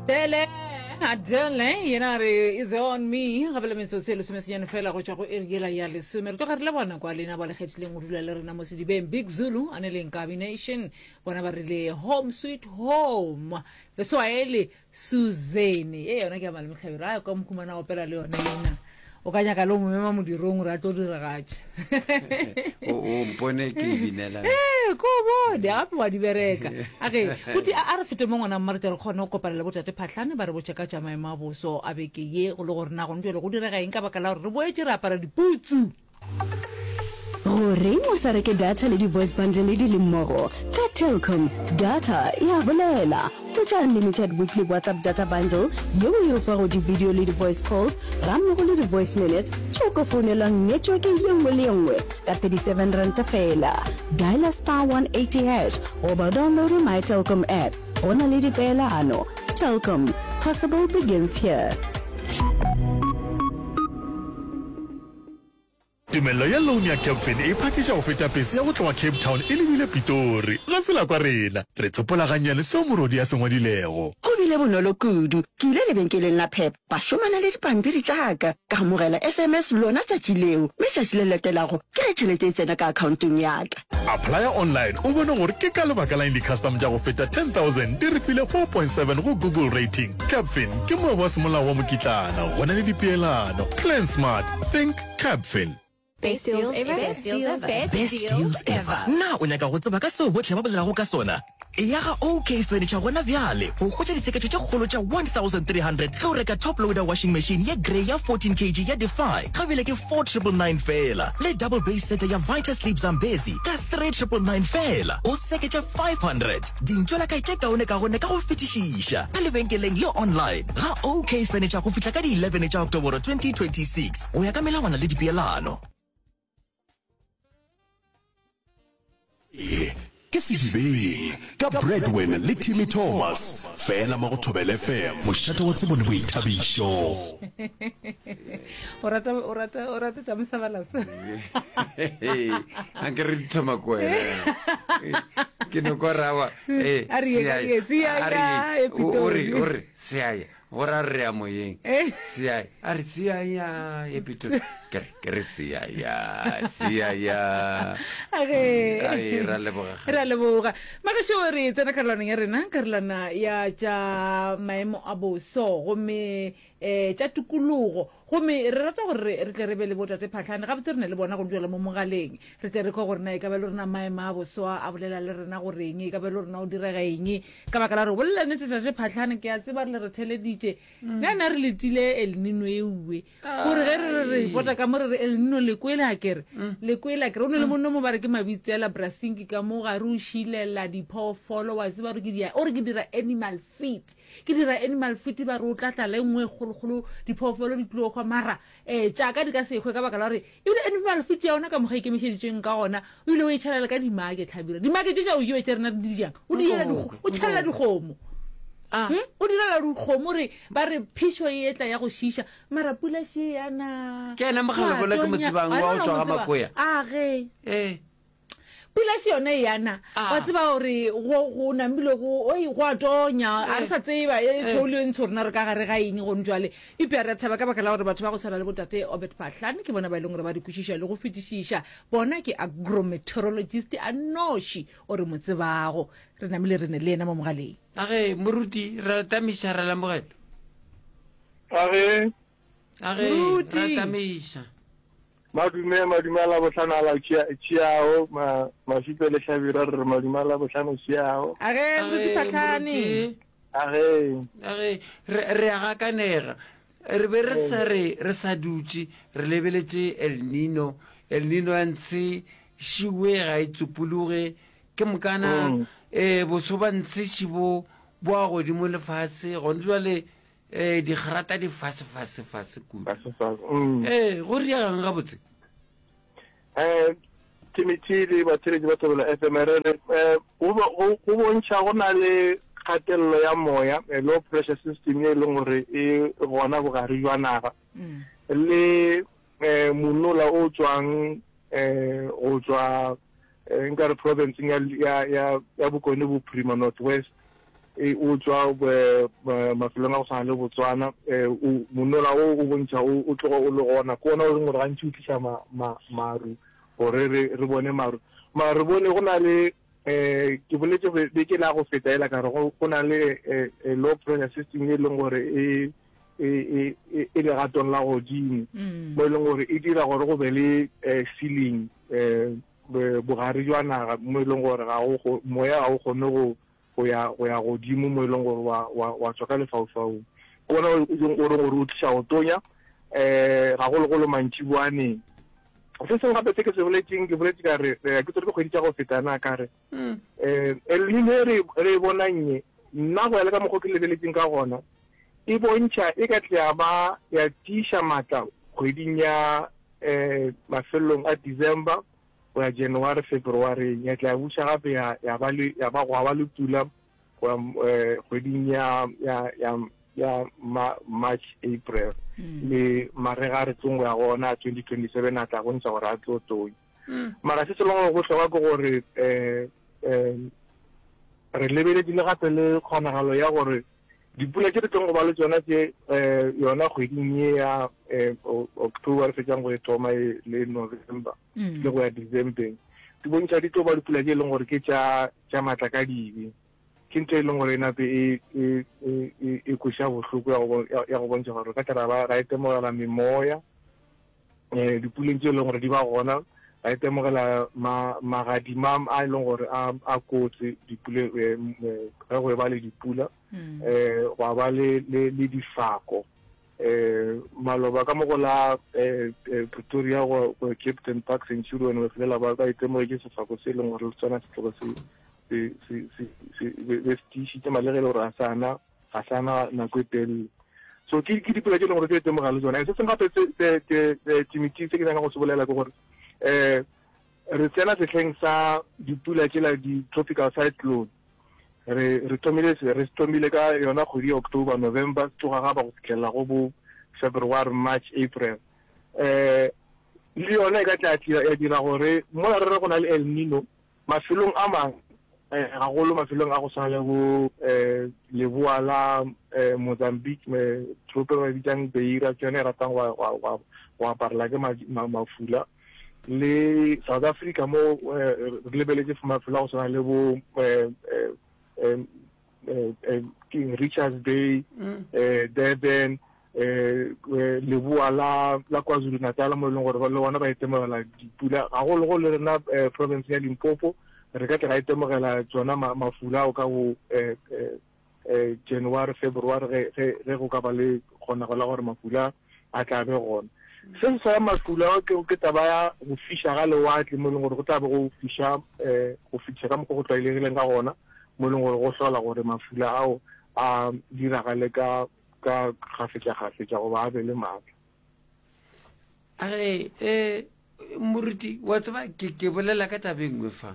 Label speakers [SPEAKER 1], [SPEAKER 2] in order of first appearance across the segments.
[SPEAKER 1] Adele, Adele, yena a re is on me gape le metsotso e lesomesenyane fela go tšwa go iri yela ya lesome re tloga re le bona kwa lena ba le kgethileng go dula le rena mo sedibeng big zulu a ne leng Nkabi nation bona ba rile home sweet home leswaele Suzanne, ye yona ke ya Malome Hlabirwa, a kwa mokhumana a opela le yona ena. O ka nyaka le o mo mema modirong gore a tlo diragatša.
[SPEAKER 2] O o mpone ke e binela.
[SPEAKER 1] Ee, ko o bone, gape wa di bereka. A ge, buti a a re fete mo ngwana mma re tle re kgone go kopana le botate Phahlane ba re botše ka tša maemo a boso a beke ye go le gore na gone bjale go direga eng ka baka la gore re boetše re apara diputsu.
[SPEAKER 3] Goreng o sa reke data le di-voice bundle di le mmogo? Ka Telkom, data e a bolela! Hwetša unlimited weekly WhatsApp data bundle yeo e o fago di-video le di-voice calls gammogo le di-voice minutes tšeo ka founelwang network ye nngwe le ye nngwe ka 37 ranta feela. Dialer star 180 hash goba o downloade My Telkom app. Go na le dipeelano. Telkom, possible begins here.
[SPEAKER 4] Tumello ya loan ya Capfin e phakiša go feta pese ya go tloga Cape Town e lebile Pitori. Ga se la kwa rena. Re tsopola gannyane seo morodi a se ngwadilego.
[SPEAKER 5] Go bile bonolo kudu. Ke ile lebenkeleng la Pep, ba šomana le dipampiri tša ka, ka amogela SMS lona tšatši leo, mme tšatši le latelago ke ge tšhelete e tsena ka akhaontong ya ka.
[SPEAKER 4] Applya online o bone gore ke ka lebaka la eng di-custom tša go feta 10,000 di re file 4.7 go Google rating. Capfin ke moabi wa semolao wa mokitlana, go na le dipeelano. Plan smart, think Capfin.
[SPEAKER 6] Best deals ever. Best deals ever.
[SPEAKER 7] Best deals ever. Na o nyaka go tseba ka seo bohle ba bolelago ka sona? Eya ga OK Furniture gona bjale go hwetša ditsheketšo tše kgolo tša 1300 ge o reka top loader washing machine ye grey ya 14 kg ya Defy ga bjale ke 4999 feela le double base setter ya Vita Sleep Zambezi ka 3999 feela. O seketša 500 dintšwelakae tše kaonekaone ka go fetišiša ka lebenkeleng le online ga OK Furniture go fihla ka di 11 tša Oktoboro 2026 go ya ka melawana le dipeelano.
[SPEAKER 8] Ye ke Sedibeng ka Bradwin le Timmy Thomas, fela mo go Thobela FM, mošate wa tsebo le boithabišo.
[SPEAKER 1] O rata o rata o rata tša mosabalasa.
[SPEAKER 2] A ke re di thoma ko wena. Ke no kwa rawa. Eh,
[SPEAKER 1] A re ye, a re ye,
[SPEAKER 2] seya,
[SPEAKER 1] a re ye,
[SPEAKER 2] o re
[SPEAKER 1] Pitori.
[SPEAKER 2] o re seya. Go ra re ya moyeng.
[SPEAKER 1] Eh.
[SPEAKER 2] Seya, a re seya ya ye Pitori. Ke re ke re seya ya seya ya.
[SPEAKER 1] Age.
[SPEAKER 2] Ai ra leboga.
[SPEAKER 1] Re a leboga. Magešo re tsena karolwaneng ya rena, karolwana ya tša maemo a boso gomme eh tša tikologo. Gomme re rata gore re re tle re be le botate Phahlane gabotse re ne le bona go jwalo mo mogaleng. Re tle re kwe gore na e ka ba le rena maemo a boso a bolela le rena goreng, e ka ba le rena o direga eng. Ka baka la gore bolela nnete tate Phahlane ke a tseba re le re theleditše. Nna nna re letile El Nino e uwe. Gore ge re re re pota ka mo re re El Nino le kwele a kere. Le kwele a kere. O ne le monno mo ba re ke mabitsela Brasinki ka mo gare o šilela diphoofolo wa tseba gore ke dia o re ke dira animal feed. Ke dira animal feed ba re o tla tla le nngwe e kgolokgolo diphoofolo di tlo hwa mara um tšaka di ka se hwe ka baka la gore ebile animal feed ya ona ka mokgwa ikemišeditšeng ka gona o ile o e tšhelela ka dimake tlhabira dimake tše tša go jewa tše rena di jang o di direla o tšhelela dikgomo ah. hmm? o direla dikgomo re ba re phišo e etla ya go šiša mara pula še yana
[SPEAKER 2] ke ena mogalebola ke mo tsebang wa go tšwa ga makoya
[SPEAKER 1] a ge
[SPEAKER 2] ee
[SPEAKER 1] pula še yone yana ah. wa tseba gore go namile go oi go a tonya a re sa tseba e eh. tšhoule e ntsho rena re ka gare ga eng gone jwale eupša re a thaba ka baka la gore batho ba go tshwana le botate obert phahlane ke bona ba e leng gore ba di kwešiša le go fetišiša bona ke agrometeorologist a noši o re mo tsebago re namile re ne le yena mo mogaleng
[SPEAKER 2] a ge moruti ra tamiša ra lamogela
[SPEAKER 9] a ge
[SPEAKER 2] a ge ra tamiša
[SPEAKER 9] Madume, madume a Labohlano a la tšeago, ma, Mašupe le Hlabirwa re re madume a Labohlano tšeago.
[SPEAKER 1] A ge, Moruti Phahlane.
[SPEAKER 9] A ge.
[SPEAKER 2] A ge, re, re a gakanega. Re be re sa re, re sa dutše, re lebeletše El Nino. El Nino ya ntshe šiwe ga e tsupologe. Ke mokana, mm. eh, boso ba ntshe šibo bo a godimo lefase. Gone jwale, Ee, digrata di fase fase fase kudu.
[SPEAKER 9] Fase fase. Mm.
[SPEAKER 2] Ee, go riegang gabotse?
[SPEAKER 9] Eh, Timothy le batheletši ba Thobela FM re re eh, go go bontšha go na le kgatelelo ya moya eh, low pressure system ye e leng gore e gona bogare jwa naga mm. le eh, monola o tswang eh, go tswa eh, nka re provinceng ya, ya, ya, ya bokone bophirima north west. e o tšwa mafelong a go swana le Botswana, o monola o o bontšha o o tloga o le gona. Ke ona o leng gore gantši o tliša ma, ma, maru gore re, re bone maru. Mara re bone go na le um ke boletše beke la go feta ela ka re go, go na le low pressure system e leng gore e, e, e, e, e legatong la godimo mm. mo e leng gore e dira gore go be le ceiling um bogare jwa naga mo e leng gore ga go moya ga o kgone go go ya go ya godimo mo e leng gore wa wa wa tswa ka lefaufaung. Ke ona o o reng gore o tliša go tonya um gagologolo mantšiboaneng. Se sengwe gape se ke se boletseng ke boletse ka re eh, ke tsere ke kgwedi tša go feta na ka re um El Nino e re re e bonang ye nna go ya le ka mokgwa ke lebeletseng ka gona e bontšha e ka tle ya ba ya tiiša maatla kgweding ya um mafelelong a December go ya January, February, ya tla ya buša gape ya, ya ba le, ya ba gwa ba le pula go ya eh, kgweding ya, ya, ya, ya ma, March, April. Mm. Le marega a re tlong go ya go ona a 2027 a tla bontšha gore a tlo tonya. Mm. Mara se se leng gore bohlokwa ke gore eh, eh, re lebeletše le gape le kgonagalo ya gore Dipula tše re tlong go ba le tšona tše um yona kgweding ye ya um October re fetšang go e thoma e le November mm. le go ya December di bontšha di tlo ba dipula tše e leng gore ke tša tša matla ka dibe ke ntho e leng gore e nape e e e, e, e kweša bohloko ya go ya go bontšha gore ka tla ra itemogela memoya um dipuleng tše e leng gore di ba gona ra itemogela magadima a e leng gore a kotsi dipule eh, eh, ge go e ba le dipula um gwa ba le difako um maloba ka mo go la um Pretoria go Captain Park Centurion ba felela ba ba itemogetse sefako se e leng gore le tsona se tloga se se se se se tiišitše malege e le gore a sa na ga sa na nako e telele. So ke ke dipela tše e leng gore ke itemogela le tsona. Se sengwe gape se se ke Timothy se ke nyaka go se bolela ke gore um re tsena sehleng sa dipula tšela di-tropical cyclone. Re re thomile re thomile ka yona kgwedi ya October, November, se tloga ga ba go fihlelela go bo February, March, April. Um le yona e ka tla ya dira gore mola re re go na le El Nino, Mafelong a mangwe, gagolo mafelong a go swana le bo leboa la Mozambique, toropo e ba e bitsang Beira, ke yone e ratang go aparela ke mafula. Le South Africa mo re lebeletše mafelo a go swana le bo ke Richards Bay, mm. eh, Durban, eh, eh, leboa la la KwaZulu Natal mo e leng gore le bona ba itemogela dipula gagologolo le rena province ya Limpopo re ka tla ra itemogela tsona mafula ao ka go January, February ge ge ge go ka ba le kgonego la gore mafula a tla be gona. Se se sa mafula ke ke taba ya go fiša ga lewatle mo e leng gore go tla be go fiša um go fetiša ka mokgwa go tlwaelegileng ka gona mo e leng gore go hlola gore mafula ao a diragale ka ka kgafetša-kgafetša goba a be le maatla.
[SPEAKER 2] A re, eh, moruti, wa tseba, ke, ke bolela ka taba e nngwe fa.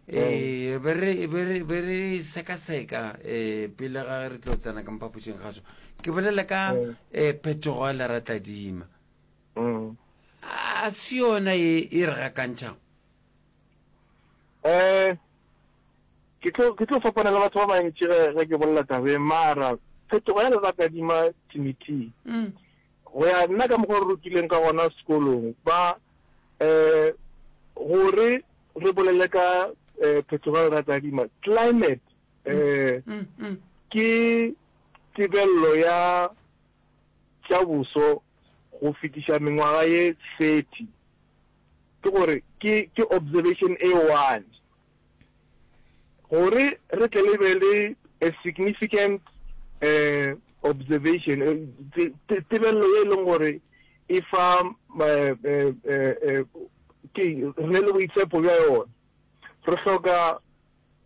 [SPEAKER 2] Eh, be re, be re, be re sekaseka, eh, pele ga re tlo tsena ka mphapošing gaso. Ke bolela ka, eh, phetogo ya leratadima. A se yona e, e re gakantšhago?
[SPEAKER 9] Eh, ke tlo, ke tlo fapana le batho ba bantši ge, ge ke bolela tabeng, mara phetogo ya leratadima, Timothy, Go ya nna ka mokgwa re rutileng ka gona sekolong, ba um gore re bolele ka um phetogo ya leratadima, climate, um ke tebello ya tša boso go fetiša mengwaga ye 30. Ke gore ke ke observation e one. Gore re tle le be le a significant uh, observation, eh, tebelelo ye e leng gore e fa eh, eh, ke re ne le boitshepo bja yona. Re hloka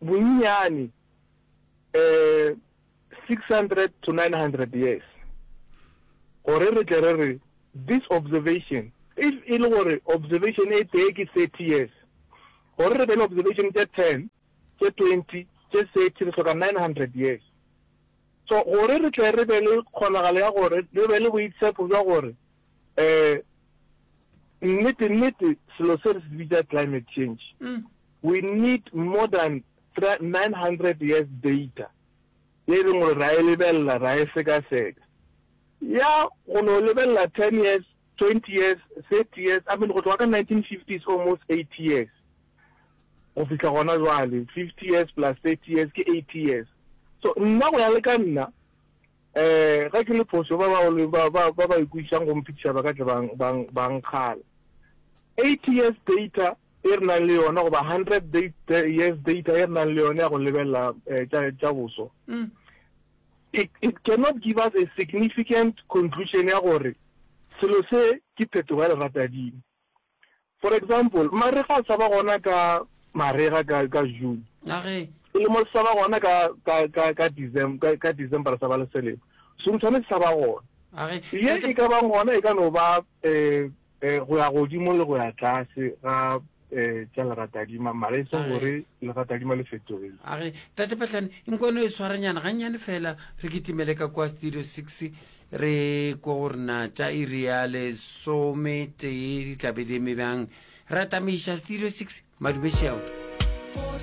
[SPEAKER 9] bonnyane um 600 to 900 years gore re tle re re this observation, if e le gore observation e tee ke 30 years, Gore re be le observation tše ten, tše 20, tše 30, re hloka 900 years. So gore re tle re be le kgonagalo ya gore re be le boitshepo bja gore um nnete nnete selo se re se bitša climate change, we need more than 900 years data. ye e leng gore ra e lebelela, ra e sekaseka. Ya go no lebelela 10 years, 20 years, 30 years, I mean go tloga ka 1950s almost 80 years go fihla gona jwale, 50 years plus 30 years ke 80 years. So nna go ya le ka nna, um ge ke le phošo ba ba ba ba ba ikwešišang go mphetiša ba ka tle ba ba ba nkgala. 80 years data e re nang le yona goba 100 years data e re nang le yona ya go lebelela eh, tša tša boso mm. it, it cannot give us a significant conclusion ya gore selo se ke phetogo ya leratadimo for example marega a sa ba gona ka marega ka ka june selemo se sa ba gona ka ka ka ka december ka december sa ba le selemo seruthwane se sa ba gona ye e ka bang gona e ka no ba um Go ya godimo le go ya tlase ga tša leratadima, mara e seng gore leratadima le fetogile.
[SPEAKER 2] A re, Tate Phahlane, nkwano e swarenyana gannyane fela, re kitimele ka kua Studio Six, re kwe gore na tša iri ya lesometee di tla be di eme bjang. Re atamiša Studio Six, madume šeo.